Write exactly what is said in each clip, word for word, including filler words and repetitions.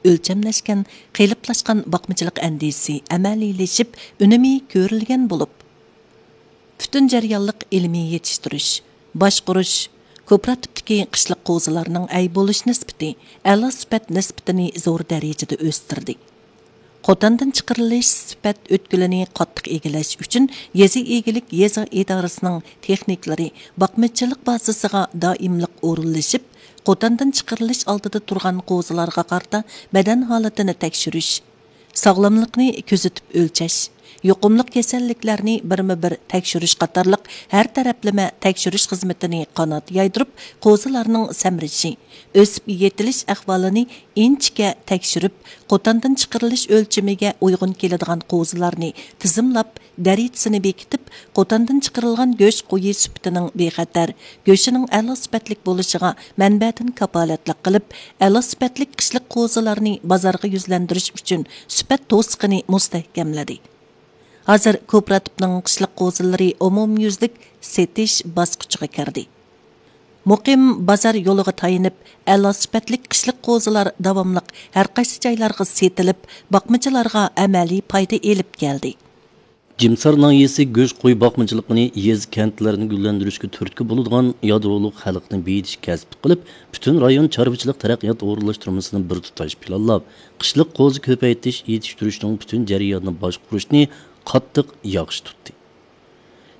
ئۆلچەملەشكەن، قېلىپلاشقان باقمىچىلىق ئەندىزىسى ئەمەلىيلىشىپ، ئۈنۈمى كۆرۈلگەن بولۇپ، پۈتۈن جەريانلىق ئىلمىي يېتىشتۈرۈش، باشقۇرۇش، كوپىراتىپتىكى قىشلىق قوزىلارنىڭ ئەي بولۇش نىسبىتى، ئەلا سۈپەت نىسبىتىنى زور دەرىجىدە ئۆستۈردى. قوتاندىن چىقىرىلىش سۈپەت ئۆتكىلىنى قاتتىق ئىگىلەش ئۈچۈن، يېزا ئىگىلىك يېزا ئىدارىسىنىڭ تېخنىكلىرى باقمىچىلىق بازىسىغا دائىملىق ئورۇنلىشىپ، قوتاندىن چىقىرىلىش ئالدىدا تۇرغان قوزىلارغا قارىتا بەدەن ھالىتىنى تەكشۈرۈش، ساغلاملىقنى كۆزىتىپ ئۆلچەش، يۇقۇملۇق كېسەللىكلەرنى بىرمۇ بىر تەكشۈرۈش قاتارلىق ھەر تەرەپلىمە تەكشۈرۈش خىزمىتىنى قانات يايدۇرۇپ، قوزىلارنىڭ سەمرىشى، ئۆسۈپ يېتىلىش ئەھۋالىنى ئىنچىكە تەكشۈرۈپ، قوتاندىن چىقىرىلىش ئۆلچىمىگە ئۇيغۇن كېلىدىغان قوزىلارنى تىزىملاپ، دەرىجىسىنى بېكىتىپ، قوتاندىن چىقىرىلغان گۆش قويى سۈپىتىنىڭ بىخەتەر، گۆشىنىڭ ئەلا سۈپەتلىك بولۇشىغا مەنبەدىن كاپالەتلىك قىلىپ، ئەلا سۈپەتلىك قىشلىق قوزىلارنى بازارغا يۈزلەندۈرۈش ئۈچۈن سۈپەت توسۇقىنى مۇستەھكەملىدى. ھازىر كوپىراتىپنىڭ قىشلىق قوزىلىرى ئومۇميۈزلۈك سېتىش باسقۇچىغا كىردى. مۇقىم بازار يولىغا تايىنىپ، ئەلا سۈپەتلىك قىشلىق قوزىلار داۋاملىق ھەرقايسى جايلارغا سېتىلىپ، باقمىچىلارغا ئەمەلىي پايدا ئېلىپ كەلدى. جىمسار ناھىيەسى گۆش قوي باقمىچىلىقىنى يېزا، كەنتلەرنى گۈللەندۈرۈشكە تۈرتكە بولىدىغان يادرولۇق خەلقنى بېيىتىش كەسىپ قىلىپ، پۈتۈن رايون چارۋىچىلىق تەرەققىيات ئورۇنلاشتۇرمىسىنى بىر تۇتاش پىلانلاپ، قىشلىق قوزا كۆپەيتىش، يېتىشتۈرۈشنىڭ پۈتۈن جەريانىنى باشقۇرۇشنى قاتتىق ياخشى تۇتتى.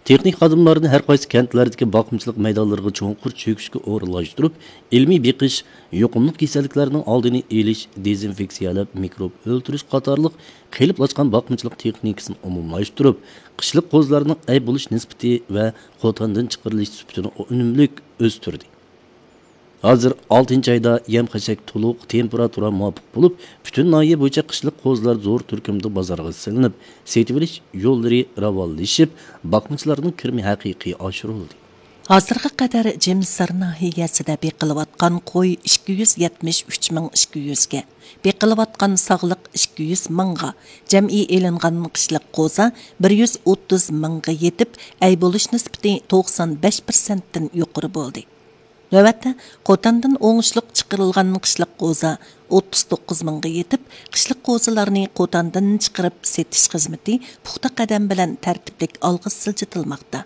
تېخنىك خادىملارنى ھەر قايسى كەنتلەردىكى باقمىچىلىق مەيدانلىرىغا چوڭقۇر چۆكۈشكە ئورۇنلاشتۇرۇپ، ئىلمىي بېقىش، يۇقۇملۇق كېسەللىكلەرنىڭ ئالدىنى ئېلىش، دېزىنفېكسىيەلەپ، مىكروب ئۆلتۈرۈش قاتارلىق قېلىپلاشقان باقمىچىلىق تېخنىكىسىنى ئومۇملاشتۇرۇپ، قىشلىق قوزىلارنىڭ ئەي بولۇش نىسبىتى ۋە قوتاندىن چىقىرىلىش سۈپىتىنى ئۈنۈملۈك ئۆستۈردى. ھازىر ئالتىنچى ئايدا يەم-خەشەك تولۇق، تېمپېراتۇرا مۇۋاپىق بولۇپ، پۈتۈن ناھىيە بويىچە قىشلىق قوزىلار زور تۈركۈمدە بازارغا سېلىنىپ، سېتىۋېلىش يوللىرى راۋانلىشىپ، باقمىچىلارنىڭ كىرىمى ھەقىقىي ئاشۇرۇلدى. ھازىرغا قەدەر جىمسار ناھىيەسىدە بېقىلىۋاتقان قوي ئىككى يۈز يەتمىش ئۈچ مىڭ ئىككى يۈزگە، بېقىلىۋاتقان ساغلىق ئىككى يۈز مىڭغا، جەمئىي ئېلىنغان قىشلىق قوزا بىر يۈز ئوتتۇز مىڭغا يېتىپ، ئەي بولۇش نىسبىتى توقسان بەش پىرسەنتتىن يۇقىرى بولدى. نۆۋەتتە، قوتاندىن ئوڭۇشلۇق چىقىرىلغان قىشلىق قوزا ئوتتۇز توققۇز مىڭغا يېتىپ، قىشلىق قوزىلارنى قوتاندىن چىقىرىپ سېتىش خىزمىتى پۇختا قەدەم بىلەن تەرتىپلىك ئالغا سىلجىتىلماقتا.